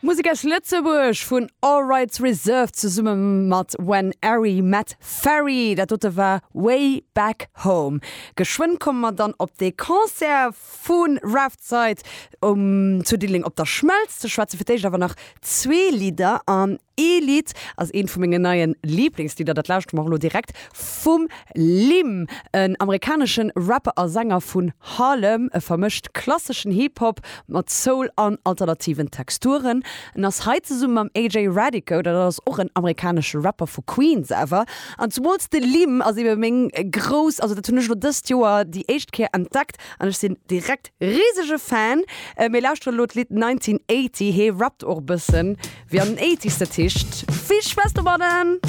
Musek aus Lëtzebuerg vun All Rights Reserved zesumme mat When Harry Met Ferry. Dat dote war Way Back Home. Geschwënn komme mer dann op dee Concert vu Raftside um zu Diddeleng op der Schmelz ze schwätzen. Fir d'éischt awer nach zwee Lidder an ee Lidd ass eent vu mengen neie Liblingslidder, dat lauschtere mer och elo direkt, vum Lim, en amerikanesche Rapper a Sänger vun Harlem. E vermëscht klasseschen Hip-Hop mat Soul an alternativen Texturen. En ass hei zesumme mam AJ Radico, dat ass och en amerikanesche Rapper vu Queens awer. An zumools de Lim ass ebe meng grouss, also dat hunn ech elo dëst Joer déi éischt Kéier entdeckt an ech sinn direkt risege Fan. Mir lauschteren elo d'Lidd 1980, hee rappt och e bëssen wéi an den Eighties, dat heescht vill Spaass domadden!